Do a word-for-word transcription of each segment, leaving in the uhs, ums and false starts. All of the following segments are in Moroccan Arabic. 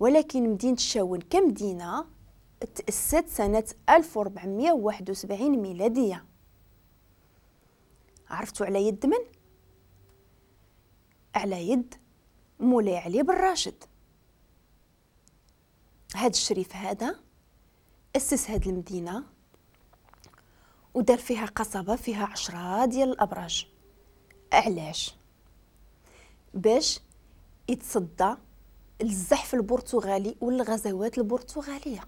ولكن مدينة الشاون كمدينة تأسست سنة ألف وأربعمائة وواحد وسبعين ميلادية. عرفتوا على يد من؟ على يد مولاي علي بن راشد. هاد الشريف هذا أسس هاد المدينة ودار فيها قصبة فيها عشرة ديال الأبراج. علاش؟ باش يتصدى للزحف البرتغالي والغزوات البرتغالية.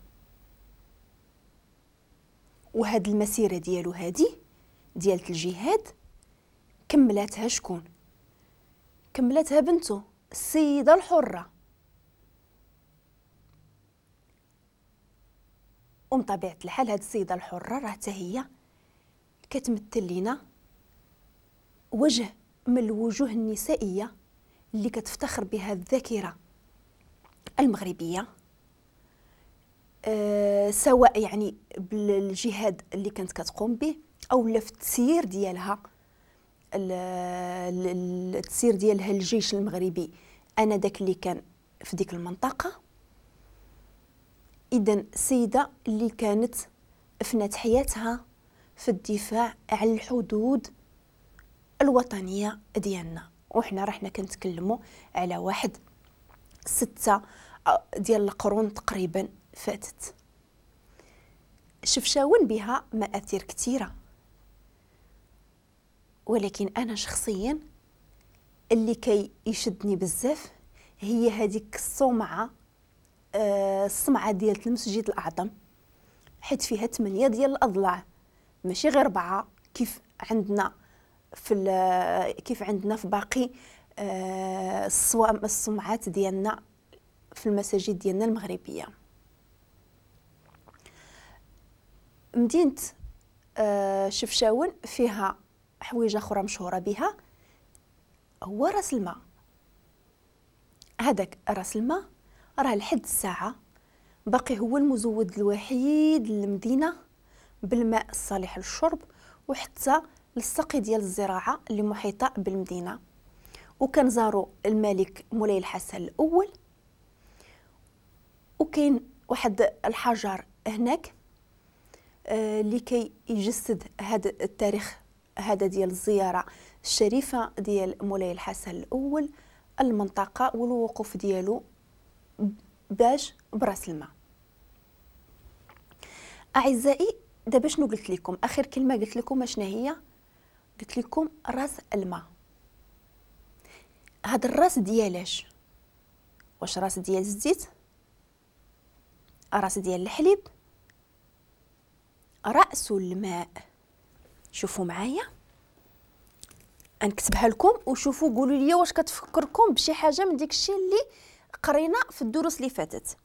وهاد المسيرة ديالو هادي ديالت الجهاد كملاتها شكون؟ كملاتها بنته السيدة الحرة. ومن طبيعة الحال هاد السيدة الحرة راه حتى هي كتمثل لينا وجه من الوجوه النسائية اللي كتفتخر بها الذاكرة المغربية، أه سواء يعني بالجهاد اللي كانت كتقوم به او لا في التسيير ديالها، التسيير ديالها الجيش المغربي انا داك اللي كان في ديك المنطقة. اذا السيدة اللي كانت افنت حياتها في الدفاع على الحدود الوطنية ديالنا، وحنا رحنا كنتكلموا على واحد ستة ديال القرون تقريبا فاتت. شفشاون بها مآثر كثيرة، ولكن أنا شخصيا اللي كي يشدني بزاف هي هذيك الصومعة، آه الصمعة ديال المسجد الأعظم، حيت فيها ثمانية ديال الأضلاع ماشي غير أربعة كيف عندنا في كيف عندنا في باقي آه الصومعات ديالنا في المساجد ديالنا المغربية. مدينة آه شفشاون فيها حويجة أخرى مشهورة بها، هو راس الماء. هذاك راس الماء راه لحد الساعة باقي هو المزود الوحيد للمدينة بالماء الصالح للشرب وحتى للسقي ديال الزراعة اللي محيطة بالمدينة. وكان زارو الملك مولاي الحسن الأول، وكاين واحد الحجر هناك اللي كي يجسد هذا التاريخ هذا ديال الزيارة الشريفة ديال مولاي الحسن الأول المنطقة والوقوف ديالو باش براس الماء. أعزائي دابا شنو قلت لكم؟ آخر كلمة قلت لكم شنو هي؟ قلت لكم راس الماء. هذا الراس ديالاش؟ واش راس ديال الزيت؟ راس ديال الحليب؟ رأس الماء. شوفوا معايا نكتبها لكم وشوفوا قولوا لي واش كتفكركم بشي حاجة من ديك الشيء اللي قرينا في الدروس اللي فاتت.